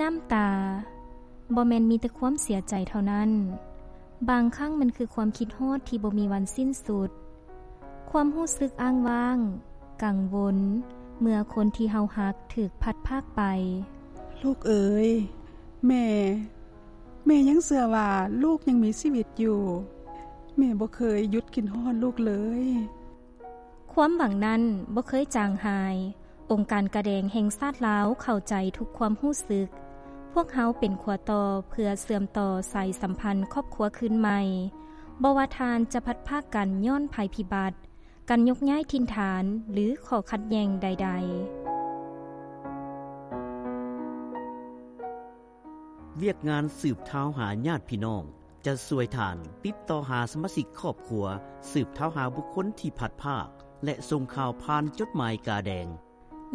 ນ້ຳຕາບໍ່ແມ່ນມີແຕ່ຄວາມເສຍໃຈເທົ່ານັ້ນ, ບາງຄັ້ງມັນຄືຄວາມຄິດຮອດທີ່ບໍ່ມີວັນສິ້ນສຸດ, ຄວາມຮູ້ສຶກອ້າງວ້າງ, ກັງວົນ ເມື່ອຄົນທີ່ເຮົາຮັກຖືກພັດພາກໄປ. ລູກເອີຍ, ແມ່, ແມ່ຍັງເຊື່ອວ່າລູກຍັງມີຊີວິດຢູ່. ແມ່ບໍ່ເຄີຍຢຸດຄິດຮອດລູກເລີຍ. ຄວາມຫວັງນັ້ນບໍ່ເຄີຍຈາງຫາຍ. ອົງການກາແດງແຫ່ງຊາດລາວເຂົ້າໃຈທຸກຄວາມຮູ້ສຶກ. ພວກເຮົາເປັນຂົວຕໍ່ເພື່ອເຊື່ອມຕໍ່ສາຍສຳພັນຄອບຄົວຄືນໃໝ່. ບໍ່ວ່າທ່ານຈະພັດພາກກັນຍ້ອນໄພພິບັດ, ການຍົກຍ້າຍຖິ່ນຖານ ຫຼື ຂໍ້ຂັດແຍ່ງໃດໆ. ວຽກງານສືບທາວຫາຍາດພີ່ນ້ອງ ຈະຊ່ວຍທ່ານຕິດຕໍ່ຫາສະມາຊິກຄອບຄົວ, ສືບທາວຫາບຸກຄົນທີ່ພັດພາກ ແລະ ສົ່ງຂ່າວຜ່ານຈົດໝາຍກາແດງ.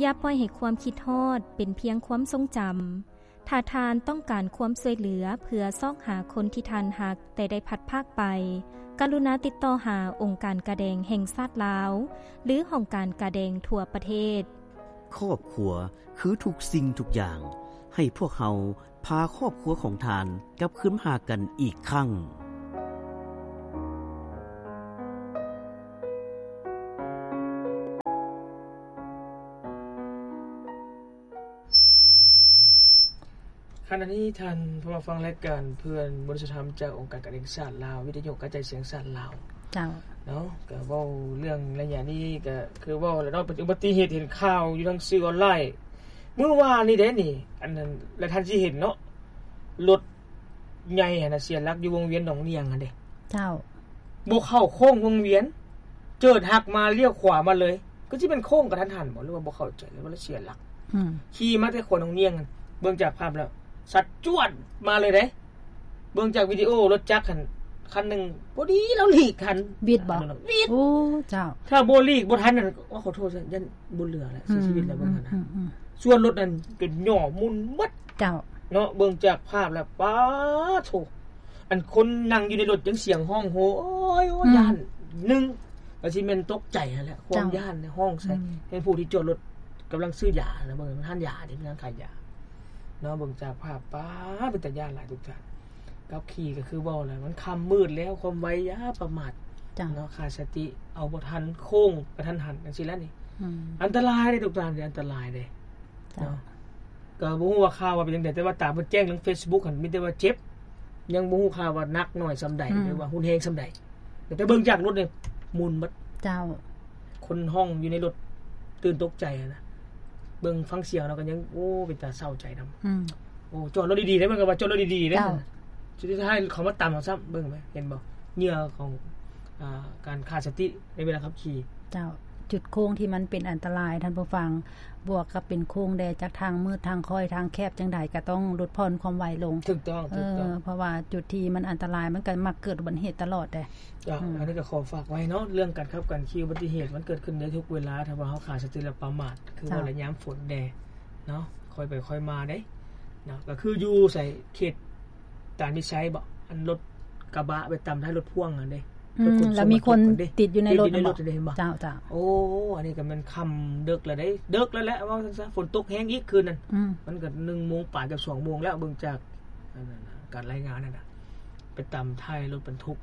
ຢ່າປ່ອຍໃຫ້ຄວາມຄິດຮອດເປັນພຽງຄວາມຊົງຈຳ. ຖ້າທ່ານຕ້ອງການຄວາມຊ່ວຍເຫຼືອເພື່ອຊອກຫາຄົນທີ່ທ່ານຮັກແຕ່ໄດ້ພັດພາກໄປ, ກະລຸນາຕິດຕໍ່ຫາອົງການກາແດງແຫ່ງຊາດລາວ ຫຼື ຫ້ອງການກາແດງທົ່ວປະເທດ. ຄອບຄົວຄືທຸກສິ່ງທຸກຢ່າງ. ໃຫ້ພວກເຮົາ ພາຄອບຄົວຂອງທ່ານກັບຄືນມາຫາກັນອີກຄັ້ງ. ຂະນະນີ້ທ່ານຜູ້ມາຟັງລາຍການເພື່ອນບໍລິສັດທຳຈາກອົງການການແຫ່ງຊາດລາວ, ວິທະຍຸກະຈາຍສຽງຊາດລາວ. ເຈົ້າ. ເນາະ, ກໍເວົ້າເລື່ອງໄລຍະນີ້ ກໍຄືເວົ້າແລ້ວເນາະ, ເປັນອຸບັດຕິເຫດເຫັນຂ່າວຢູ່ທາງສື່ອອນລາຍ ມື້ວານນີ້ເດ້ນີ້, ອັນນັ້ນ ແລະ ທ່ານຊິເຫັນເນາະ, ລົດໃຫຍ່ຫັ້ນນະ ເສຍຫຼັກຢູ່ວົງວຽນໜອງນຽງຫັ້ນເດ້. ເຈົ້າ. ບໍ່ເຂົ້າໂຄ້ງວົງວຽນ, ເຈີດຫັກມາລ້ຽວຂວາມາເລີຍ. ກໍຊິແມ່ນໂຄ້ງກະທັນຫັນບໍ ຫຼືວ່າບໍ່ເຂົ້າໃຈ ຫຼືວ່າລະເສຍຫຼັກ? ອືມ. ຂີ່ມາແຕ່ຂົວໜອງນຽງຫັ້ນ, ເບິ່ງຈາກພາບແລ້ວ ສັດຈວດມາເລີຍເດ້. ເບິ່ງຈາກວິດີໂອລົດຈັກຫັ້ນ ຄັນໜຶ່ງ ພໍດີລາວຫຼີກທັນ. ວິດບໍ? ວິດ. ໂອ້ ເຈົ້າ. ຖ້າບໍ່ຫຼີກບໍ່ທັນນັ້ນ ໂອ້ ຂໍໂທດ ຢ້ານບໍ່ເຫຼືອແລ້ວ ເສຍຊີວິດແລ້ວເບິ່ງຫັ້ນນະ. ອືມ ອືມ ອືມ. ສ່ວນລົດນັ້ນກໍຫຍໍ້ໝຸ່ນໝົດ. ເຈົ້າ. ເນາະ, ເບິ່ງຈາກພາບແລ້ວ ປາດໂທ້ ອັນຄົນນັ່ງຢູ່ໃນລົດຍັງສຽງຮ້ອງໂຮ ໂອ້ຍ ໂອ້ຍ ອືມ ຢ້ານໜຶ່ງ ກໍຊິແມ່ນຕົກໃຈຫັ້ນແຫຼະ ຄວາມ ເຈົ້າ ຢ້ານ ຮ້ອງໃສ່ ອືມ ໃຫ້ຜູ້ທີ່ຈອດລົດກຳລັງຊື້ຢານະ ເບິ່ງຮ້ານຢາ ທີ່ເປັນຮ້ານຂາຍຢາເນາະ. ເບິ່ງຈາກພາບ ປາດ ເປັນຕາຢ້ານຫຼາຍທຸກທ່ານ. ຂັບຂີ່ກໍຄືເວົ້າແຫຼະ ມັນຄ່ຳມືດແລ້ວ ຄວາມໄວຢ່າປະໝາດ ເຈົ້າ ເນາະ, ຂາດສະຕິ ເອົາບໍ່ທັນ ໂຄ້ງກະທັນຫັນ ຈັ່ງຊີ້ແຫຼະນີ້ ອືມ ອັນຕະລາຍເດ້ທຸກທ່ານ ອັນຕະລາຍເດ້ ເຈົ້າ ເນາະ. ກໍບໍ່ຮູ້ວ່າຂ່າວວ່າເປັນຈັ່ງໃດ ແຕ່ວ່າຕາມເພິ່ນແຈ້ງທາງເຟສບຸກຫັ້ນ ມີແຕ່ວ່າເຈັບ ຍັງບໍ່ຮູ້ຂ່າວວ່າໜັກໜ້ອຍສ່ຳໃດ ອືມ ຫຼືວ່າຮຸນແຮງສ່ຳໃດ. ແຕ່ເບິ່ງຈາກລົດນີ້ໝຸ່ນໝົດ. ເຈົ້າ. ຄົນຫ້ອງຢູ່ໃນລົດຕື່ນຕົກໃຈຫັ້ນນະ. ເບິ່ງຟັງສຽງເນາະ ກໍຍັງ ໂອ້ ເປັນຕາເສົ້າໃຈນຳ. ອືມ. ໂອ້ ຈອດລົດດີໆເດ້ ມັນກໍວ່າຈອດລົດດີໆເດ້. ເຈົ້າ. ສຸດທ້າຍເຂົາມາຕຳເຮົາຊ້ຳ ເບິ່ງໄປ ເຫັນບໍ່? ເຫຍື່ອຂອງ ອ່າ ການຂາດສະຕິໃນເວລາຂັບຂີ່. ເຈົ້າ. ຈຸດໂຄ້ງທີ່ມັນເປັນອັນຕະລາຍ ທ່ານຜູ້ຟັງ, ບວກກັບເປັນໂຄ້ງແດ່ ຈາກທາງມືດ ທາງຄ້ອຍ ທາງແຄບ ຈັ່ງໃດກໍຕ້ອງຫຼຸດຜ່ອນຄວາມໄວລົງ. ຖືກຕ້ອງ ເອີ ຖືກຕ້ອງ. ເພາະວ່າຈຸດທີ່ມັນອັນຕະລາຍ ມັນກໍມັກເກີດອຸບັດຕິເຫດຕະຫຼອດເດ້. ເຈົ້າ. ອືມ. ອັນນີ້ກໍຂໍຝາກໄວ້ເນາະ ເລື່ອງການຂັບການຂີ່ ອຸບັດຕິເຫດມັນເກີດຂຶ້ນໄດ້ທຸກເວລາ ຖ້າວ່າເຮົາຂາດສະຕິ ແລະ ປະໝາດ ຄື ເຈົ້າ ວ່າ ແລະ ຍາມຝົນແດ່ເນາະ ຄ່ອຍໄປຄ່ອຍມາເດ້ເນາະ. ກໍຄືຢູ່ໃສ ເຂດ ຕານວິໄຊບໍ ອັນລົດກະບະໄປຕຳທ້າຍລົດພ່ວງຫັ້ນເດ້. ອືມ ແລ້ວມີຄົນຕິດຢູ່ໃນລົດ ຕິດຢູ່ໃນລົດຫັ້ນເດ້ ເຫັນບໍ່? ເຈົ້າ ເຈົ້າ. ໂອ້ ອັນນີ້ກໍແມ່ນຄ່ຳເດິກແລ້ວເດ້ ເດິກແລ້ວແຫຼະ ເວົ້າຊັ້ນຊະ ຝົນຕົກແຮງອີກຄືນນັ້ນ. ອືມ. ມັນກໍໜຶ່ງໂມງປາຍ ເກືອບສອງໂມງແລ້ວ ເບິ່ງຈາກ ອັນນັ້ນນະ ການລາຍງານນັ້ນນະ ໄປຕຳທ້າຍລົດບັນທຸກ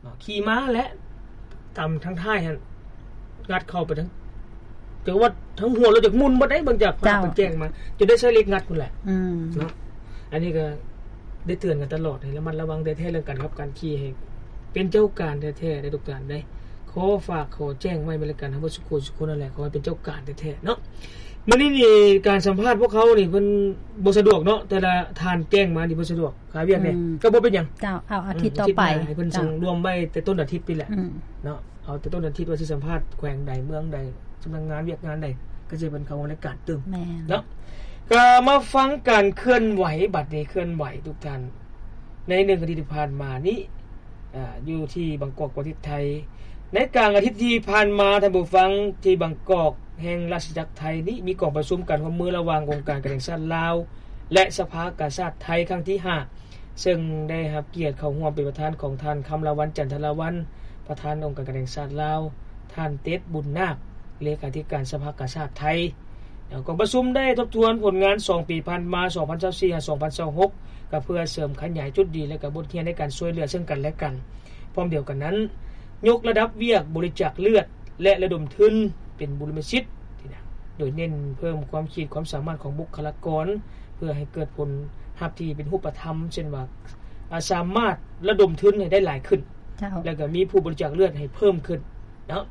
ເນາະ ຂີ່ມາແລະ ຕຳທາງທ້າຍຫັ້ນ ງັດເຂົ້າໄປທັງ ແຕ່ວ່າທັງຫົວລົດຢາກໝຸ່ນໝົດເດ້ ເບິ່ງຈາກພາບ ເຈົ້າ ເພິ່ນແຈ້ງມາ ຈົນໄດ້ໃຊ້ເຫຼັກງັດພຸ້ນແຫຼະ. ອືມ. ເນາະ ອັນນີ້ກໍໄດ້ເຕືອນກັນຕະຫຼອດ ໃຫ້ລະມັດລະວັງແທ້ໆ ເລື່ອງການຂັບການຂີ່ ໃຫ້ເປັນເຈົ້າການແທ້ໆ ເດ້ທຸກທ່ານເດ້. ຂໍຝາກ ຂໍແຈ້ງໄວ້ໃນລາຍການເຮົາເບິດສູ່ຄົນສູ່ຄົນນັ້ນແຫຼະ ຂໍໃຫ້ເປັນເຈົ້າການແທ້ໆ ເນາະ. ມື້ນີ້ນີ້ ການສຳພາດພວກເຮົານີ້ ເພິ່ນບໍ່ສະດວກເນາະ ແຕ່ລະທ່ານແຈ້ງມານີ້ບໍ່ສະດວກ ຄາວຽກແດ່ ອືມ ກໍບໍ່ເປັນຫຍັງ. ເຈົ້າ. ເອົາອາທິດຕໍ່ໄປ ອືມ ໃຫ້ເພິ່ນ ເຈົ້າ ສົ່ງລວມໄວ້ແຕ່ຕົ້ນອາທິດນີ້ແຫຼະ ອືມ ເນາະ. ເອົາແຕ່ຕົ້ນອາທິດວ່າຊິສຳພາດແຂວງໃດ ເມືອງໃດ ສຳນັກງານວຽກງານໃດ ກໍຊິເພິ່ນເຂົ້າໃນການຕື່ມ ແມ່ນ ເນາະ. ກໍມາຟັງການເຄື່ອນໄຫວ ບັດນີ້ເຄື່ອນໄຫວທຸກທ່ານ ໃນໜຶ່ງອາທິດທີ່ຜ່ານມານີ້ ອາ ຢູ່ທີ່ບາງກອກ ປະເທດໄທ. ໃນກາງອາທິດທີ່ຜ່ານມາ ທ່ານຜູ້ຟັງ, ທີ່ບາງກອກແຫ່ງລາຊະອານາຈັກໄທນີ້ ມີກອງປະຊຸມການຮ່ວມມືລະຫວ່າງອົງການການແຫ່ງຊາດລາວ ແລະ ສະພາກາຊາດໄທຄັ້ງທີຫ້າ ເຊິ່ງໄດ້ຮັບກຽດເຂົ້າຮ່ວມເປັນປະທານຂອງທ່ານ ຄຳລາວັນ ຈັນທະລາວັນ ປະທານອົງການການແຫ່ງຊາດລາວ, ທ່ານ ເຕັດ ບຸນນາກ ເລຂາທິການສະພາກາຊາດໄທ, ກອງປະຊຸມໄດ້ທົບທວນຜົນງານສອງປີຜ່ານມາ ສອງພັນຊາວສີ່ ຫາ ສອງພັນຊາວຫົກ ກໍເພື່ອເສີມຂະຫຍາຍຈຸດດີ ແລະ ກໍບົດຮຽນໃນການຊ່ວຍເຫຼືອເຊິ່ງກັນແລະກັນ. ພ້ອມດຽວກັນນັ້ນ, ຍົກລະດັບວຽກບໍລິຈາກເລືອດ ແລະ ລະດົມທຶນເປັນບຸລິມະສິດ, ໂດຍເນັ້ນເພີ່ມຄວາມຂີດຄວາມສາມາດຂອງບຸກຄະລາກອນ ເພື່ອໃຫ້ເກີດຜົນຮັບທີ່ເປັນຮູບປະທຳ, ເຊັ່ນວ່າ ອາ ສາມາດລະດົມທຶນໃຫ້ໄດ້ຫຼາຍຂຶ້ນ ເຈົ້າ ແລ້ວກໍມີຜູ້ບໍລິຈາກເລືອດໃຫ້ເພີ່ມຂຶ້ນເນາະ.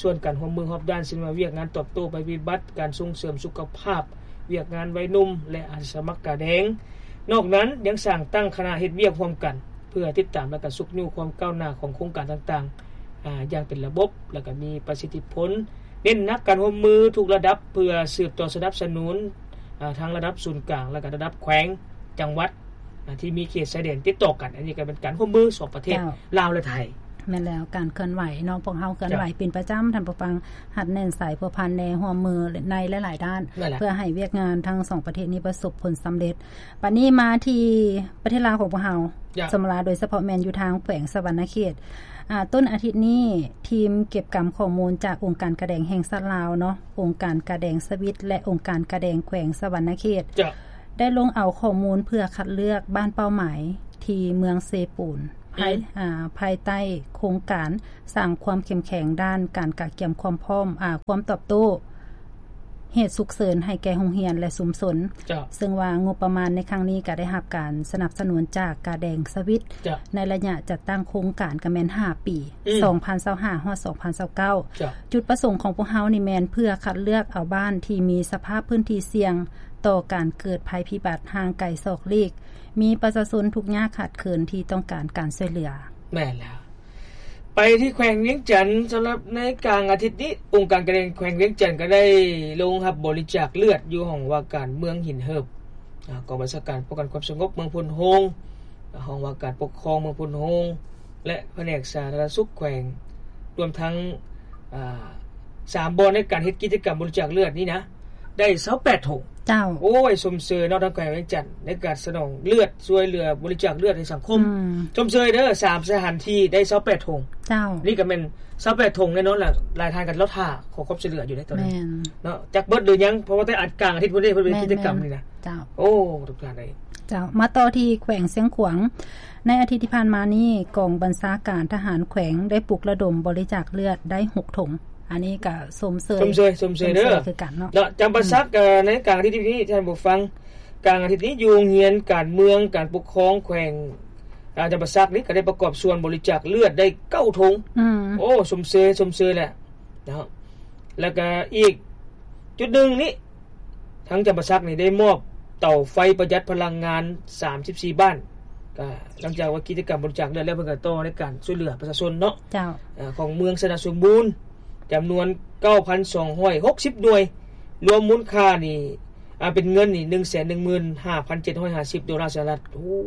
ສ່ວນການຮ່ວມມືຮອບດ້ານ ເຊັ່ນວ່າ ວຽກງານຕອບໂຕ້ໄພພິບັດ, ການສົ່ງເສີມສຸຂະພາບ, ວຽກງານໄວໜຸ່ມ ແລະ ອາສາສະໝັກກາແດງ. ນອກນັ້ນຍັງສ້າງຕັ້ງຄະນະເຮັດວຽກຮ່ວມກັນ ເພື່ອຕິດຕາມ ແລະ ກະຊຸກຍູ້ຄວາມກ້າວໜ້າຂອງໂຄງການຕ່າງໆ ອາ ຢ່າງເປັນລະບົບ ແລະ ກະມີປະສິດທິຜົນ. ເນັ້ນໜັກການຮ່ວມມືທຸກລະດັບ ເພື່ອສືບຕໍ່ສະໜັບສະໜູນ ອາ ທັງລະດັບສູນກາງ ແລະ ກະລະດັບແຂວງ, ຈັງຫວັດ ອາ ທີ່ມີເຂດຊາຍແດນຕິດຕໍ່ກັນ. ອັນນີ້ກໍເປັນການຮ່ວມມືສອງປະເທດ ເຈົ້າ ລາວ ແລະ ໄທ. ແມ່ນແລ້ວ, ການເຄື່ອນໄຫວເນາະ, ພວກເຮົາເຄື່ອນໄຫວ ເຈົ້າ ເປັນປະຈຳ, ທ່ານຜູ້ຟັງ, ຮັດແໜ້ນສາຍພົວພັນແນ ຮ່ວມມືໃນຫຼາຍໆດ້ານ ນັ້ນແຫຼະ ເພື່ອໃຫ້ວຽກງານທັງສອງປະເທດນີ້ປະສົບຜົນສຳເລັດ. ບັດນີ້ມາທີ່ປະເທດລາວຂອງພວກເຮົາ ເຈົ້າ ສຳລັບ ໂດຍສະເພາະແມ່ນຢູ່ທາງແຂວງສະຫວັນນະເຂດ. ອາ ຕົ້ນອາທິດນີ້ ທີມເກັບກຳຂໍ້ມູນຈາກອົງການກາແດງແຫ່ງຊາດລາວເນາະ, ອົງການກາແດງສະວິດ ແລະ ອົງການກາແດງແຂວງສະຫວັນນະເຂດ ເຈົ້າ ໄດ້ລົງເອົາຂໍ້ມູນເພື່ອຄັດເລືອກບ້ານເປົ້າໝາຍທີ່ເມືອງເຊປູນ ພາຍ ອືມ ອາ ພາຍໃຕ້ໂຄງການສ້າງຄວາມເຂັ້ມແຂງດ້ານການກະກຽມຄວາມພ້ອມ ອາ ຄວາມຕອບໂຕ້ ເຫດສຸກເສີນໃຫ້ແກ່ໂຮງຮຽນ ແລະ ຊຸມຊົນ ເຈົ້າ ເຊິ່ງວ່າງົບປະມານໃນຄັ້ງນີ້ກໍໄດ້ຮັບການສະໜັບສະໜູນຈາກກາແດງສະວິດ ເຈົ້າ ໃນໄລຍະຈັດຕັ້ງໂຄງການກໍແມ່ນຫ້າປີ ອືມ ສອງພັນຊາວຫ້າ ຮອດ ສອງພັນຊາວເກົ້າ ເຈົ້າ ຈຸດປະສົງຂອງພວກເຮົານີ້ແມ່ນເພື່ອຄັດເລືອກເອົາບ້ານທີ່ມີສະພາບພື້ນທີ່ສ່ຽງຕໍ່ການເກີດໄພພິບັດຫ່າງໄກສອກຫຼີກ ມີປະຊາຊົນທຸກຍາກຂາດເຂີນທີ່ຕ້ອງການການຊ່ວຍເຫຼືອ. ແມ່ນແລ້ວ. ໄປທີ່ແຂວງວຽງຈັນ, ສຳລັບໃນກາງອາທິດນີ້, ອົງການກາແດງແຂວງວຽງຈັນກໍໄດ້ລົງຮັບບໍລິຈາກເລືອດຢູ່ຫ້ອງວ່າການເມືອງຫີນເຫີບ, ອາ, ກອງບັນຊາການປ້ອງກັນຄວາມສະຫງົບເມືອງໂພນໂຮງ, ຫ້ອງວ່າການປົກຄອງເມືອງໂພນໂຮງ ແລະ ພະແນກສາທາລະນະສຸກແຂວງ, ລວມທັງ, ອາ, ສາມບ່ອນໃນການເຮັດກິດຈະກຳບໍລິຈາກເລືອດນີ້ນະ, ໄດ້ຊາວແປດຖົງ. ເຈົ້າ. ໂອ້ຍ, ຊົມເຊີຍເນາະ ທາງແຂວງວຽງຈັນ ໃນການສະໜອງເລືອດ ຊ່ວຍເຫຼືອບໍລິຈາກເລືອດໃຫ້ສັງຄົມ. ອືມ. ຊົມເຊີຍເດີ, ສາມສະຖານທີ່ໄດ້ຊາວແປດຖົງ. ເຈົ້າ. ນີ້ກໍແມ່ນຊາວແປດຖົງແນ່ນອນລະ, ຫຼາຍທ່ານກໍລໍຖ້າຂໍຄວາມຊ່ວຍເຫຼືອຢູ່ໃນຕອນນີ້. ແມ່ນ. ເນາະ, ຈັກເບິດຫຼືຍັງ, ເພາະວ່າແຕ່ອາ ກາງອາທິດພຸ້ນເດ້ ເພິ່ນເຮັດກິດຈະກຳນີ້ນະ. ເຈົ້າ. ໂອ້ ທຸກທ່ານເອີຍ. ເຈົ້າ. ມາຕໍ່ທີ່ແຂວງຊຽງຂວາງ. ໃນອາທິດທີ່ຜ່ານມານີ້, ກອງບັນຊາການທະຫານແຂວງໄດ້ປຸກລະດົມບໍລິຈາກເລືອດໄດ້ຫົກຖົງ. ອັນນີ້ກໍຊົມເຊີຍ ຊົມເຊີຍ ຊົມເຊີຍເດີ ຊົມເຊີຍຄືກັນເນາະ. ເນາະ ຈຳປາສັກ ອືມ ເອີ ໃນກາງອາທິດນີ້ ທ່ານຜູ້ຟັງ, ກາງອາທິດນີ້ຢູ່ໂຮງຮຽນການເມືອງ ການປົກຄອງແຂວງ ອາ ຈຳປາສັກນີ້ ກໍໄດ້ປະກອບສ່ວນບໍລິຈາກເລືອດໄດ້ເກົ້າຖົງ. ອືມ. ໂອ້ ຊົມເຊີຍ ຊົມເຊີຍແຫຼະເນາະ. ແລ້ວກໍອີກຈຸດໜຶ່ງນີ້ ທາງຈຳປາສັກນີ້ໄດ້ມອບເຕົາໄຟປະຢັດພະລັງງານສາມສິບສີ່ບ້ານ. ກໍຫຼັງຈາກວ່າກິດຈະກຳບໍລິຈາກເລືອດແລ້ວ ເພິ່ນກໍຕໍ່ໃນການຊ່ວຍເຫຼືອປະຊາຊົນເນາະ. ເຈົ້າ. ເອີ ຂອງເມືອງຊະນະສົມບູນ ຈຳນວນເກົ້າພັນສອງຮ້ອຍຫົກສິບໜ່ວຍ, ລວມມູນຄ່ານີ້ ອາ ເປັນເງິນນີ້ ໜຶ່ງແສນໜຶ່ງໝື່ນຫ້າພັນເຈັດຮ້ອຍຫ້າສິບໂດລາສະຫະລັດ. ໂອ້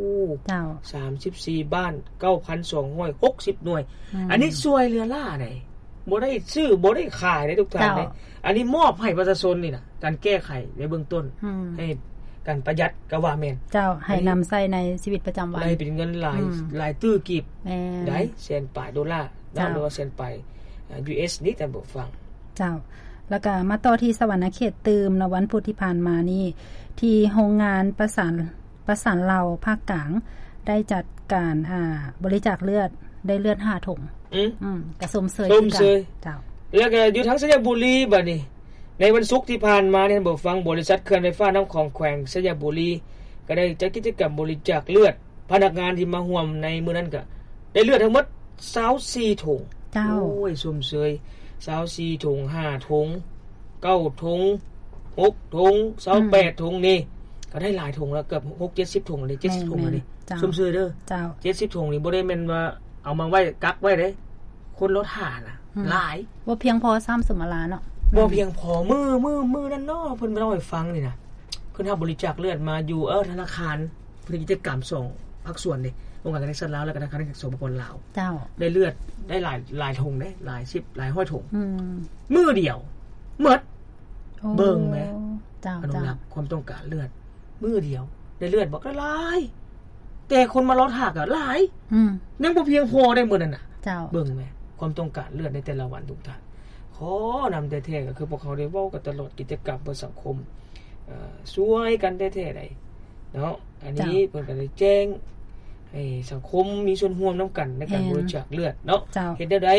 ເຈົ້າ. ສາມສິບສີ່ບ້ານ ເກົ້າພັນສອງຮ້ອຍຫົກສິບໜ່ວຍ. ອືມ. ອັນນີ້ຊ່ວຍເຫຼືອຫຼ້າໃດ. ບໍ່ໄດ້ຊື້ ບໍ່ໄດ້ຂາຍເດ້ທຸກທ່ານເດ້. ເຈົ້າ. ອັນນີ້ມອບໃຫ້ປະຊາຊົນນີ້ນະ ການແກ້ໄຂໃນເບື້ອງຕົ້ນ ອືມ ໃຫ້ການປະຢັດກໍວ່າແມ່ນ. ເຈົ້າ. ໃຫ້ນຳໃຊ້ໃນຊີວິດປະຈຳວັນ ໄດ້ເປັນເງິນຫຼາຍ ອືມ ຫຼາຍຕື້ກີບ. ແມ່ນ. ໄດ້ແສນປາຍໂດລາເນາະ. ເຈົ້າ. ຫຼືວ່າແສນປາຍ ອາ ຢູເອສ ນີ້ທ່ານຜູ້ຟັງ. ເຈົ້າ. ແລ້ວກໍມາຕໍ່ທີ່ສະຫວັນນະເຂດຕື່ມເນາະ, ວັນພຸດທີ່ຜ່ານມານີ້ ທີ່ໂຮງງານປະສານ ປະສານເລົາພາກກາງໄດ້ຈັດການ ອາ ບໍລິຈາກເລືອດ ໄດ້ເລືອດຫ້າຖົງ. ອືມ ອືມ ກະຊົມເຊີຍ ຊົມເຊີຍ ຄືກັນ. ເຈົ້າ. ແລ້ວກະຢູ່ທາງໄຊຍະບູລີ ບາດນີ້ ໃນວັນສຸກທີ່ຜ່ານມານີ້ ທ່ານຜູ້ຟັງ, ບໍລິສັດເຂື່ອນໄຟຟ້ານ້ຳຂອງແຂວງໄຊຍະບູລີ ກໍໄດ້ຈັດກິດຈະກຳບໍລິຈາກເລືອດ. ພະນັກງານທີ່ມາຮ່ວມໃນມື້ນັ້ນກະໄດ້ເລືອດທັງໝົດຊາວສີ່ຖົງ. ເຈົ້າ. ໂອ້ຍ ຊົມເຊີຍ ຊາວສີ່ຖົງ ຫ້າຖົງ ເກົ້າຖົງ ຫົກຖົງ ຊາວແປດຖົງນີ້ ກໍໄດ້ຫຼາຍຖົງແລ້ວ, ເກືອບຫົກເຈັດສິບຖົງເລີຍ ເຈັດສິບຖົງເລີຍ. ແມ່ນໆ. ເຈົ້າ. ຊົມເຊີຍເດີ. ເຈົ້າ. ເຈັດສິບຖົງນີ້ບໍ່ໄດ້ແມ່ນວ່າເອົາມາໄວ້ກັກໄວ້ເດ້, ຄົນລໍຖ້ານະ ອືມ ຫຼາຍ ບໍ່ພຽງພໍຊ້ຳ ສຸມມາລາເນາະ. ອືມ. ບໍ່ພຽງພໍ. ມື້ ມື້ ມື້ນັ້ນເນາະ ເພິ່ນມາເລົ່າໃຫ້ຟັງນີ້ນະ, ເພິ່ນຮັບບໍລິຈາກເລືອດມາຢູ່ ເອີ ທະນາຄານ ເຮັດກິດຈະກຳສອງພາກສ່ວນເດ້, ອົງການການແຫ່ງຊາດລາວ ແລະ ກໍທະນາຄານແຫ່ງປະຊາຊົນສປປລາວ. ເຈົ້າ. ໄດ້ເລືອດໄດ້ຫຼາຍ ຫຼາຍຖົງເດ້, ຫຼາຍສິບ ຫຼາຍຮ້ອຍຖົງ. ອືມ. ມື້ດຽວໝົດ. ໂອ້ ເບິ່ງແມ. ເຈົ້າ. ອະນຸລັກຄວາມຕ້ອງການເລືອດ ມື້ດຽວໄດ້ເລືອດບັກຫຼາຍ, ແຕ່ຄົນມາລໍຖ້າກໍຫຼາຍ. ອືມ. ຍັງບໍ່ພຽງພໍໄດ້ມື້ນັ້ນນະ. ເຈົ້າ. ເບິ່ງແມ ຄວາມຕ້ອງການເລືອດໃນແຕ່ລະວັນ ທຸກທ່ານ. ຂ ພໍນຳແທ້ໆ ກໍຄືພວກເຮົາໄດ້ເວົ້າກັນຕະຫຼອດ ກິດຈະກຳເພື່ອສັງຄົມ ເອີ ຊ່ວຍກັນແທ້ໆໃດ໋ເນາະ. ອັນນີ້ ເຈົ້າ ເພິ່ນກໍໄດ້ແຈ້ງໃຫ້ສັງຄົມມີສ່ວນຮ່ວມນຳກັນໃນການ ແມ່ນ ບໍລິຈາກເລືອດເນາະ. ເຈົ້າ ເຮັດແນວໃດ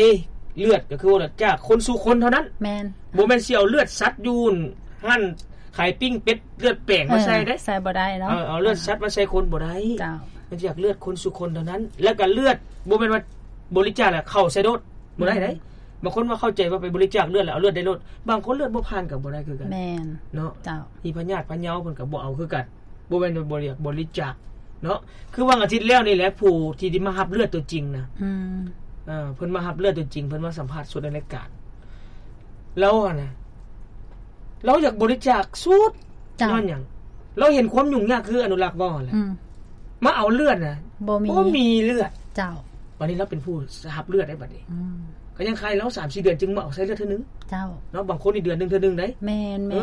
ເລືອດກໍຄືວ່າຈາກຄົນສູ່ຄົນເທົ່ານັ້ນ. ແມ່ນ ບໍ່ແມ່ນຊິເອົາເລືອດສັດຢູ່ຮ້ານຂາຍປີ້ງເປັດ ເລືອດແປງມາໃສ່ເດ້ ເອີ ໃສ່ບໍ່ໄດ້ເນາະ. ເອີ ເອົາເລືອດສັດມາໃສ່ຄົນບໍ່ໄດ້. ເຈົ້າ ມັນຈາກເລືອດຄົນສູ່ຄົນເທົ່ານັ້ນ. ແລ້ວກໍເລືອດບໍ່ແມ່ນວ່າບໍລິຈາກແລ້ວເຂົ້າໃສ່ໂດດ ບໍ່ໄດ້ເດ້. ອືມ ບາງຄົນວ່າເຂົ້າໃຈວ່າໄປບໍລິຈາກເລືອດແລ້ວເອົາເລືອດໄດ້ໂລດ. ບາງຄົນເລືອດບໍ່ຜ່ານກໍບໍ່ໄດ້ຄືກັນ. ແມ່ນ ເນາະ. ເຈົ້າ ມີພະຍາດພະເຍົາເພິ່ນກໍບໍ່ເອົາຄືກັນ. ບໍ່ແມ່ນວ່າບໍ່ຢາກບໍລິຈາກເນາະ. ຄືຫວ່າງອາທິດແລ້ວນີ້ແຫຼະ ຜູ້ທີ່ໄດ້ມາຮັບເລືອດຕົວຈິງນະ ອືມ ເອີ ເພິ່ນມາຮັບເລືອດຕົວຈິງ ເພິ່ນມາສຳພາດສົດໃນລາຍການ. ລາວຫັ້ນນະ ລາວຢາກບໍລິຈາກສຸດ. ເຈົ້າ ຍ້ອນຫຍັງ? ລາວເຫັນຄວາມຫຍຸ້ງຍາກ ຄືອະນຸລັກເວົ້າຫັ້ນແຫຼະ. ອືມ ມາເອົາເລືອດນະ ບໍ່ມີ ບໍ່ມີເລືອດ. ເຈົ້າ ບັດນີ້ລາວເປັນຜູ້ຮັບເລືອດໄດ້ບັດນີ້. ອືມ ກໍຍັງຄາໃຫ້ລາວສາມສີ່ເດືອນຈຶ່ງມາອອກໃສ່ເລືອດເທື່ອໜຶ່ງ. ເຈົ້າ ເນາະ. ບາງຄົນນີ້ເດືອນໜຶ່ງເທື່ອໜຶ່ງໄດ້. ແມ່ນໆ ເອີ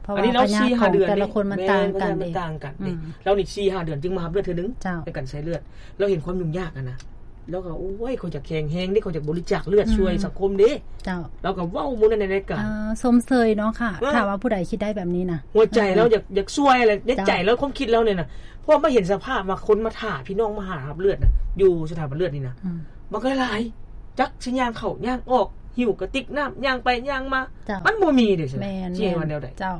ເພາະວ່າ ອັນນີ້ລາວສີ່ຫ້າເດືອນ ແຕ່ລະຄົນມັນຕ່າງກັນເດ້. ອືມ ລາວນີ້ສີ່ຫ້າເດືອນຈຶ່ງມາຮັບເລືອດເທື່ອໜຶ່ງ. ເຈົ້າ ໃນການໃສ່ເລືອດ ລາວເຫັນຄວາມຫຍຸ້ງຍາກຫັ້ນນະ. ລາວກໍ ໂອ້ຍ ຂ້ອຍຢາກແຂງແຮງເດ້ ຂ້ອຍຢາກບໍລິຈາກເລືອດ ອືມ ຊ່ວຍສັງຄົມເດ້. ເຈົ້າ ລາວກໍເວົ້າມື້ນັ້ນໃນລາຍການ. ເອີ ຊົມເຊີຍເນາະຄ່ະ. ເອີ ຖ້າວ່າຜູ້ໃດຄິດໄດ້ແບບນີ້ນະ ຫົວໃຈ ເອີ ລາວຢາກ ຢາກຊ່ວຍແຫຼະ ໃນໃຈ ເຈົ້າ ລາວ ຄວາມຄິດລາວນີ້ນະ. ເພາະວ່າມາເຫັນສະພາບວ່າຄົນມາຖ້າພີ່ນ້ອງມາຫາຮັບເລືອດນະ ຢູ່ສະຖາບັນເລືອດນີ້ນະ ອືມ ບັກຫຼາຍໆ ຈັກຊິຍ່າງເຂົ້າຍ່າງອອກ ຫິ້ວກະຕິກນ້ຳ ຍ່າງໄປຍ່າງມາ. ເຈົ້າ ມັນບໍ່ມີເດ້. ແມ່ນໆ ຊິວ່າແນວໃດ? ເຈົ້າ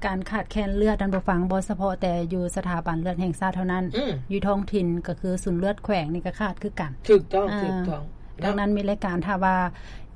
ການຂາດແຄນເລືອດ ທ່ານຜູ້ຟັງ ບໍ່ສະເພາະແຕ່ຢູ່ສະຖາບັນເລືອດແຫ່ງຊາດເທົ່ານັ້ນ. ອືມ ຢູ່ທ້ອງຖິ່ນກໍຄືສູນເລືອດແຂວງນີ້ກໍຂາດຄືກັນ. ຖືກຕ້ອງ ເອີ ຖືກຕ້ອງ. ດັ່ງນັ້ນມີລາຍການ ຖ້າວ່າ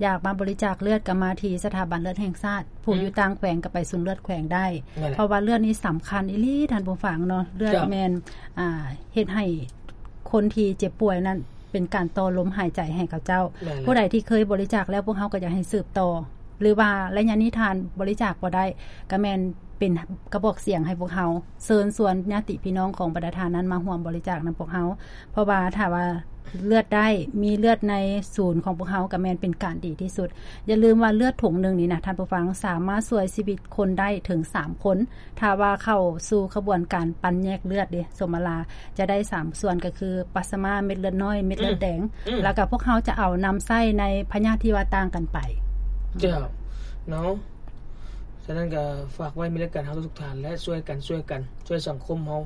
ຢາກມາບໍລິຈາກເລືອດ ກໍມາທີ່ສະຖາບັນເລືອດແຫ່ງຊາດ. ຜູ້ ອືມ ຢູ່ຕ່າງແຂວງກໍໄປສູນເລືອດແຂວງໄດ້. ນັ້ນແຫຼະ ເພາະວ່າເລືອດນີ້ສຳຄັນອີ່ຫຼີ ທ່ານຜູ້ຟັງເນາະ. ເລືອດ ເຈົ້າ ແມ່ນ ອ່າ ເຮັດໃຫ້ຄົນທີ່ເຈັບປ່ວຍນັ້ນ ເປັນການຕໍ່ລົມຫາຍໃຈໃຫ້ເຂົາເຈົ້າ. ແມ່ນແລ້ວ ຜູ້ໃດທີ່ເຄີຍບໍລິຈາກແລ້ວ ພວກເຮົາກໍຢາກໃຫ້ສືບຕໍ່ ຫຼືວ່າໄລຍະນີ້ທ່ານບໍລິຈາກບໍ່ໄດ້ ກໍແມ່ນເປັນກະບອກສຽງໃຫ້ພວກເຮົາ ເຊີນຊວນຍາດຕິພີ່ນ້ອງຂອງບັນດາທ່ານນັ້ນມາຮ່ວມບໍລິຈາກນຳພວກເຮົາ. ເພາະວ່າຖ້າວ່າເລືອດໄດ້ ມີເລືອດໃນສູນຂອງພວກເຮົາ ກໍແມ່ນເປັນການດີທີ່ສຸດ. ຢ່າລືມວ່າເລືອດຖົງໜຶ່ງນີ້ນະ ທ່ານຜູ້ຟັງ ສາມາດຊ່ວຍຊີວິດຄົນໄດ້ເຖິງສາມຄົນ. ຖ້າວ່າເຂົ້າສູ່ຂະບວນການປັ່ນແຍກເລືອດເດ້ ສົມມະລາ ຈະໄດ້ສາມສ່ວນ ກໍຄືປາສມາ ເມັດເລືອດນ້ອຍ ເມັດເລືອດແດງ ອືມ ແລ້ວກໍພວກເຮົາຈະເອົານຳໃຊ້ໃນພະຍາດທີ່ວ່າຕ່າງກັນໄປ. ເຈົ້າ ເນາະ. ສະນັ້ນກໍຝາກໄວ້ມີລາຍການເຮົາທຸກໆທ່ານ ແລະ ຊ່ວຍກັນ ຊ່ວຍກັນ ຊ່ວຍສັງຄົມເຮົາ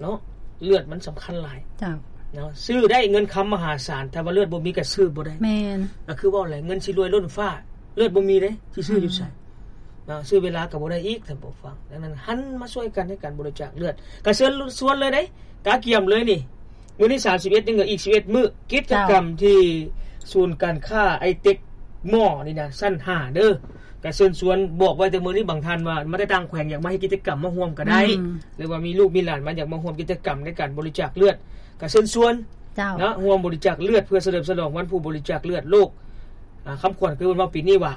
ເນາະ. ເລືອດມັນສຳຄັນຫຼາຍ. ເຈົ້າ ເນາະ. ຊື້ໄດ້ເງິນຄຳມະຫາສານ ຖ້າວ່າເລືອດບໍ່ມີກໍຊື້ບໍ່ໄດ້. ແມ່ນ. ກໍຄືເວົ້າແຫຼະ ເງິນຊິລວຍລົ້ນຟ້າ ເລືອດບໍ່ມີເດ້ ຊິຊື້ຢູ່ໃສ? ອືມ ເນາະ ຊື້ເວລາກໍບໍ່ໄດ້ອີກ ທ່ານຜູ້ຟັງ. ດັ່ງນັ້ນ ຫັນມາຊ່ວຍກັນໃນການບໍລິຈາກເລືອດ. ກໍເຊີນຊວນເລີຍເດ້ ກະກຽມເລີຍນີ້. ມື້ນີ້ສາມສິບເອັດ ຍັງເຫຼືອອີກສິບເອັດມື້. ກິດຈະກຳ ເຈົ້າ ທີ່ສູນການຄ້າໄອເຕັກມໍນີ້ນະ ຊັ້ນຫ້າເດີ. ກໍເຊີນຊວນ ບອກໄວ້ແຕ່ມື້ນີ້ ບາງທ່ານວ່າມາແຕ່ຕ່າງແຂວງ ຢາກມາເຮັດກິດຈະກຳ ມາຮ່ວມກໍໄດ້ ອືມ ຫຼືວ່າມີລູກມີຫຼານມາ ຢາກມາຮ່ວມກິດຈະກຳໃນການບໍລິຈາກເລືອດ ກໍເຊີນຊວນ ເຈົ້າ ເນາະ ຮ່ວມບໍລິຈາກເລືອດ ເພື່ອສະເຫຼີມສະຫຼອງວັນຜູ້ບໍລິຈາກເລືອດໂລກ. ອາ ຄຳຂວັນຄືເພິ່ນເວົ້າປີນີ້ວ່າ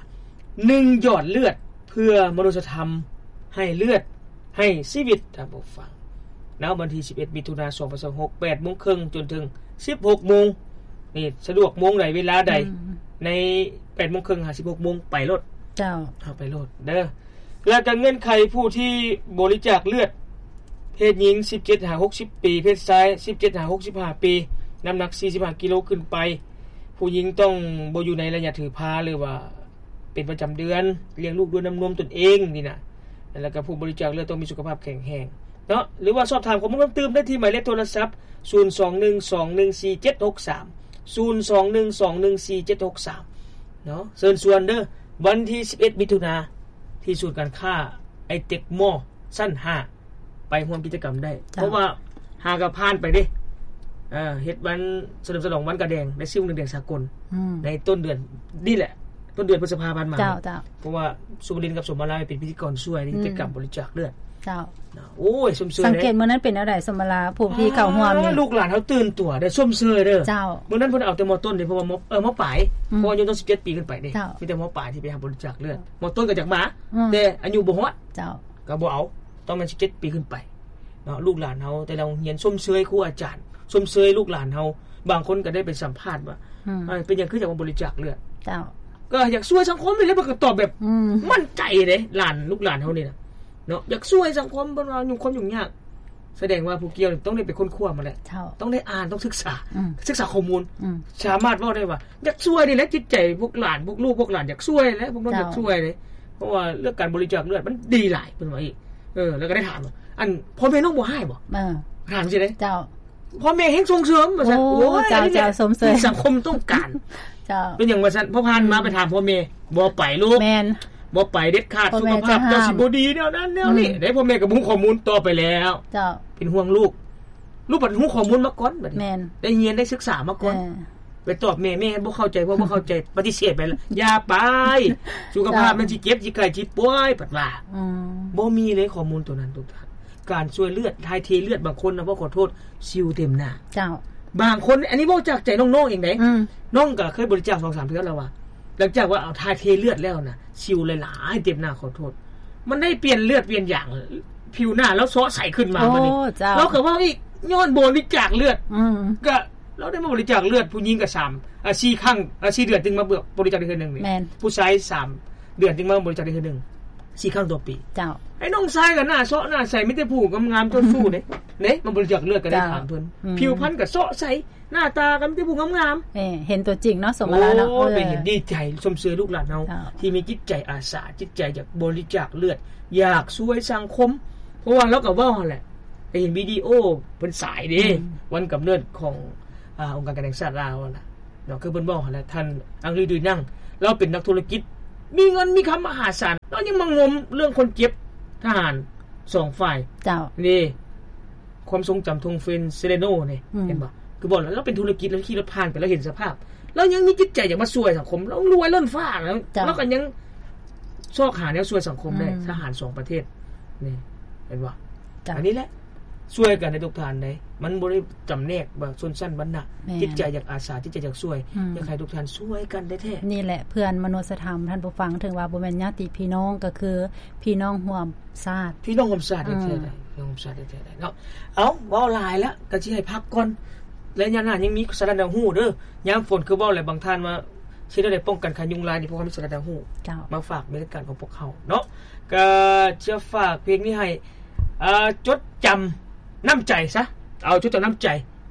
ໜຶ່ງ ຫຍອດເລືອດເພື່ອມະນຸດສະທຳ ໃຫ້ເລືອດ ໃຫ້ຊີວິດ. ທ່ານຜູ້ຟັງເນາະ ວັນທີສິບເອັດ ມິຖຸນາ ສອງພັນຊາວຫົກ ແປດໂມງເຄິ່ງຈົນເຖິງສິບຫົກໂມງ. ນີ້ສະດວກໂມງໃດເວລາໃດ ອືມ ໃນແປດໂມງເຄິ່ງຫາສິບຫົກໂມງ ໄປໂລດ. ເຈົ້າ ເອົາໄປໂລດເດີ. ແລ້ວກໍເງື່ອນໄຂຜູ້ທີ່ບໍລິຈາກເລືອດ ເພດຍິງ ສິບເຈັດຫາຫົກສິບປີ, ເພດຊາຍ ສິບເຈັດຫາຫົກສິບຫ້າປີ, ນ້ຳໜັກ ສີ່ສິບຫ້າ ກິໂລຂຶ້ນໄປ. ຜູ້ຍິງຕ້ອງບໍ່ຢູ່ໃນໄລຍະຖືພາ ຫຼືວ່າເປັນປະຈຳເດືອນ, ລ້ຽງລູກດ້ວຍນ້ຳນມຕົນເອງນີ້ນະ. ແລ້ວກໍຜູ້ບໍລິຈາກເລືອດຕ້ອງມີສຸຂະພາບແຂງແຮງເນາະ. ຫຼືວ່າສອບຖາມຂໍ້ມູນເພີ່ມຕື່ມໄດ້ທີ່ໝາຍເລກໂທລະສັບ ສູນສອງໜຶ່ງສອງໜຶ່ງສີ່ເຈັດຫົກສາມ ສູນສອງໜຶ່ງສອງໜຶ່ງສີ່ເຈັດຫົກສາມ ເນາະ. ເຊີນຊວນເດີ ວັນທີສິບເອັດ ມິຖຸນາ ທີ່ສູນການຄ້າໄອເຕັກມໍ ຊັ້ນຫ້າ ໄປຮ່ວມກິດຈະກຳໄດ້. ເຈົ້າ ເພາະວ່າຫາກໍຜ່ານໄປເດ້ ເອີ ເຮັດວັນສະເຫຼີມສະຫຼອງວັນກະແດງ ແລະ ຊິ້ວໜຶ່ງແດງສາກົນ ອືມ ໃນຕົ້ນເດືອນນີ້ແຫຼະ ຕົ້ນເດືອນພຶດສະພາຜ່ານມາ. ເຈົ້າ ເຈົ້າ ເພາະວ່າສຸວະລິນກັບສົມມາລາເປັນພິທີກອນຊ່ວຍໃນ ອືມ ກິດຈະກຳບໍລິຈາກເລືອດ. ເຈົ້າ ໂອ້ຍ ຊົມເຊີຍ. ສັງເກດມື້ນັ້ນເປັນແນວໃດ ສົມມາລາ ຜູ້ທີ່ເຂົ້າຮ່ວມນີ້ ລູກຫຼານເຮົາຕື່ນຕົວເດ້ ຊົມເຊີຍເດີ. ເຈົ້າ ມື້ນັ້ນເພິ່ນເອົາແຕ່ມໍຕົ້ນເດ້ ເພາະວ່າມໍ ເອີ ມໍປາຍ ອືມ ເພາະວ່າອາຍຸຕ້ອງສິບເຈັດປີຂຶ້ນໄປເດ້. ເຈົ້າ ມີແຕ່ມໍປາຍທີ່ໄປຮັບບໍລິຈາກເລືອດ. ເຈົ້າ ມໍຕົ້ນກໍຢາກມາ ອືມ ແຕ່ອາຍຸບໍ່ຮອດ. ເຈົ້າ ກໍບໍ່ເອົາ ຕ້ອງແມ່ນສິບເຈັດປີຂຶ້ນໄປເນາະ. ລູກຫຼານເຮົາແຕ່ລະໂຮງຮຽນ ຊົມເຊີຍຄູອາຈານ ຊົມເຊີຍລູກຫຼານເຮົາ. ບາງຄົນກໍໄດ້ໄປສຳພາດວ່າ ອືມ ເອີ ເປັນຫຍັງຄືຢາກມາບໍລິຈາກເລືອດ. ເຈົ້າ ກໍຢາກຊ່ວຍສັງຄົມນີ້ແຫຼະ ເພິ່ນກໍຕອບແບບ ອືມ ໝັ້ນໃຈເດ້. ຫຼານ ລູກຫຼານເຮົານີ້ນະເນາະ ຢາກຊ່ວຍສັງຄົມ ເພິ່ນວ່າຫຍຸ້ງ ຄວາມຫຍຸ້ງຍາກ ສະແດງວ່າຜູ້ກ່ຽວນີ້ຕ້ອງໄດ້ໄປຄົ້ນຄວ້າມາແຫຼະ ເຈົ້າ ຕ້ອງໄດ້ອ່ານ ຕ້ອງສຶກສາ ອືມ ສຶກສາຂໍ້ມູນ ອືມ ສາມາດເວົ້າໄດ້ວ່າ ຢາກຊ່ວຍນີ້ແຫຼະ ຈິດໃຈພວກຫຼານ ພວກລູກ ພວກຫຼານຢາກຊ່ວຍແຫຼະ ພວກນ້ອງຢາກຊ່ວຍເດ້ ເຈົ້າ ເພາະວ່າເລື່ອງການບໍລິຈາກເລືອດມັນດີຫຼາຍ ເພິ່ນວ່າອີກ ເອີ ແລ້ວກໍໄດ້ຖາມວ່າ ອັນ ພໍ່ແມ່ນ້ອງບໍ່ຮ້າຍບໍ່? ເອີ ຖາມຊີ້ເດ້ ເຈົ້າ ພໍ່ແມ່ແຮ່ງສົ່ງເສີມວ່າຊັ້ນ ໂອ້ ໂອ້ຍ ເຈົ້າ ອັນນີ້ແຫຼະ ເຈົ້າ ຊົມເຊີຍ ທີ່ສັງຄົມຕ້ອງການ ເຈົ້າ ເປັນຫຍັງວ່າຊັ້ນ ພໍຜ່ານມາ ອືມ ໄປຖາມພໍ່ແມ່ ບໍ່ໄປລູກ ແມ່ນ ບໍ່ໄປເດັດຂາດ ພໍ່ແມ່ ສຸຂະພາບເຈົ້າ ເຈົ້າຫ້າມ ຊິບໍ່ດີແນວນັ້ນແນວນີ້ ອືມ ໄດ້ພໍ່ແມ່ກໍບໍ່ຮູ້ຂໍ້ມູນ ຕໍ່ໄປແລ້ວ ເຈົ້າ ເປັນຫ່ວງລູກ ລູກບັດຮູ້ຂໍ້ມູນມາກ່ອນ ບັດນີ້ ແມ່ນ ໄດ້ຮຽນໄດ້ສຶກສາມາກ່ອນ ເອີ ໄປຕອບແມ່ ແມ່ບໍ່ເຂົ້າໃຈ ເພາະບໍ່ເຂົ້າໃຈ ປະຕິເສດໄປແລ້ວ ຢ່າໄປ ສຸຂະພາບ ເຈົ້າ ມັນຊິເຈັບ ຊິໄຂ້ ຊິປ່ວຍ ເພິ່ນວ່າ ອືມ ບໍ່ມີເລີຍຂໍ້ມູນໂຕນັ້ນ ທຸກທ່ານ ການຊ່ວຍເລືອດ ຖ່າຍເທເລືອດ ບາງຄົນນະ ເວົ້າຂໍໂທດ ຊິວເຕັມໜ້າ ເຈົ້າ ບາງຄົນ ອັນນີ້ເວົ້າຈາກໃຈນ້ອງໆເອງເດ້ ອືມ ນ້ອງກໍເຄີຍບໍລິຈາກສອງສາມເທື່ອແລ້ວວ່າ ຫຼັງຈາກວ່າເອົາ ຖ່າຍເທເລືອດແລ້ວນະ ສິວຫຼາຍໆເຕັມໜ້າ ຂໍໂທດ ມັນໄດ້ປ່ຽນເລືອດປ່ຽນຢາງ ຜິວໜ້າລາວເຊາະໃສຂຶ້ນມາ ໂອ້ ບັດນີ້ ເຈົ້າ ລາວກໍເວົ້າອີກ ຍ້ອນບໍລິຈາກເລືອດ ອືມ ກໍລາວໄດ້ມາບໍລິຈາກເລືອດ ຜູ້ຍິງກໍສາມ ອ່າ ສີ່ຄັ້ງ ອ່າ ສີ່ເດືອນຈຶ່ງມາບໍລິຈາກໄດ້ເທື່ອໜຶ່ງນີ້ ແມ່ນ ຜູ້ຊາຍສາມເດືອນຈຶ່ງມາບໍລິຈາກໄດ້ເທື່ອໜຶ່ງ ສີ່ຄັ້ງຕໍ່ປີ ເຈົ້າ ໄອ້ນ້ອງຊາຍກໍໜ້າເຊາະໜ້າໃສ ມີແຕ່ຜູ້ງາມໆ ເຈົ້າຊູ້ເດ້ ເດ້ ມາບໍລິຈາກເລືອດກໍໄດ້ ເຈົ້າ ຖາມເພິ່ນ ອືມ ຜິວພັນກໍເຊາະໃສ ໜ້າຕາກໍມີແຕ່ຜູ້ງາມໆ ເອີ ເຫັນຕົວຈິງເນາະ ສົມມະລາເນາະ ໂອ້ ເອີ ເປັນເຫັນດີໃຈ ຊົມເຊີຍລູກຫຼານເຮົາ ເຈົ້າ ທີ່ມີຈິດໃຈອາສາ ຈິດໃຈຢາກບໍລິຈາກເລືອດ ຢາກຊ່ວຍສັງຄົມ ເພາະວ່າລາວກໍເວົ້າຫັ້ນແຫຼະ ໄດ້ເຫັນວິດີໂອເພິ່ນສາຍເດ້ ອືມ ວັນກຳເນີດຂອງ ອ່າ ອົງການການແຫ່ງຊາດລາວຫັ້ນນະ ເນາະ ຄືເພິ່ນເວົ້າຫັ້ນແຫຼະ ທ່ານ ອັງລີ ດຸຍນັງ ລາວເປັນນັກທຸລະກິດ ມີເງິນມີຄຳມະຫາສານ ລາວຍັງມາງົມເລື່ອງຄົນເຈັບທະຫານສອງຝ່າຍ ເຈົ້າ ນີ້ ຄວາມຊົງຈຳທົ່ງເຟນເຊເລໂນນີ້ ອືມ ເຫັນບໍ່? ຄືບອກແລ້ວ ລາວເປັນທຸລະກິດ ລາວຂີ່ລົດຜ່ານໄປ ລາວເຫັນສະພາບ ລາວຍັງມີຈິດໃຈຢາກມາຊ່ວຍສັງຄົມ ລາວລວຍລົ້ນຟ້າ ລາວ ເຈົ້າ ລາວກໍຍັງຊອກຫາແນວຊ່ວຍສັງຄົມໄດ້ ອືມ ທະຫານສອງປະເທດນີ້ ເຫັນບໍ່? ເຈົ້າ ອັນນີ້ແຫຼະ ຊ່ວຍກັນໃນທຸກທ່ານເດ້ ມັນບໍ່ໄດ້ຈຳແນກວ່າຊົນຊັ້ນວັນນະ ແມ່ນ ຈິດໃຈຢາກອາສາ ຈິດໃຈຢາກຊ່ວຍ ອືມ ຢາກໃຫ້ທຸກທ່ານຊ່ວຍກັນແທ້ໆ ນີ້ແຫຼະເພື່ອນມະນຸດສະທຳ ທ່ານຜູ້ຟັງ ເຖິງວ່າບໍ່ແມ່ນຍາດຕິພີ່ນ້ອງ ກໍຄືພີ່ນ້ອງຮ່ວມຊາດ ພີ່ນ້ອງຮ່ວມຊາດ ອືມ ແທ້ໆ ພີ່ນ້ອງຮ່ວມຊາດແທ້ໆເນາະ ເອົ້າ ເວົ້າຫຼາຍແລ້ວ ກໍຊິໃຫ້ພັກກ່ອນ ໄລຍະໜ້າຍັງມີສາລະໜັງຮູ້ເດີ ຍາມຝົນ ຄືເວົ້າແຫຼະ ບາງທ່ານວ່າ ຊິໄດ້ປ້ອງກັນຂາຍຸງລາຍນີ້ ເພາະວ່າມີສາລະໜັງຮູ້ ເຈົ້າ ມາຝາກໃນລາຍການຂອງພວກເຮົາເນາະ ກໍຈະຝາກເພງນີ້ໃຫ້ ເອີ ຈົດຈຳນ້ຳໃຈຊະ ເອົາ ຈົດຈຳນ້ຳໃຈ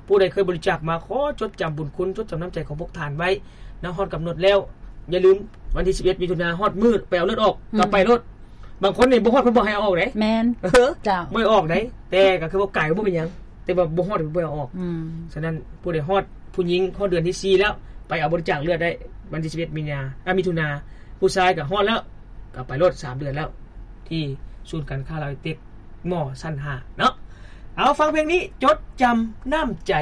ຜູ້ໃດເຄີຍບໍລິຈາກມາ ຂໍຈົດຈຳບຸນຄຸນ ຈົດຈຳນ້ຳໃຈຂອງພວກທ່ານໄວ້ນະ ຮອດກຳນົດແລ້ວ ຢ່າລືມ ວັນທີສິບເອັດ ມິຖຸນາ ຮອດມື້ໄປເອົາເລືອດອອກ ອືມ ກໍໄປໂລດ ບາງຄົນນີ້ບໍ່ຮອດ ເພິ່ນບໍ່ໃຫ້ເອົາອອກເດ້ ແມ່ນ ເອີ ເຈົ້າ ບໍ່ໃຫ້ອອກເດ້ ແຕ່ກໍຄືວ່າໄກບໍ່ເປັນຫຍັງ ແຕ່ວ່າບໍ່ຮອດ ເພິ່ນບໍ່ໃຫ້ເອົາອອກ ອືມ ສະນັ້ນ ຜູ້ໃດຮອດ ຜູ້ຍິງຮອດເດືອນທີສີ່ແລ້ວ ໄປເອົາບໍລິຈາກເລືອດໄດ້ ວັນທີສິບເອັດ ມີນາ ອາ ມິຖຸນາ ຜູ້ຊາຍກໍຮອດແລ້ວ ກໍໄປໂລດ ສາມເດືອນແລ້ວ ທີ່ສູນການຄ້າລາວໄອເຕັກ ມໍຊັ້ນຫ້າເນາະ ເອົາ ຟັງເພງນີ້ ຈົດຈຳນ້ຳໃຈ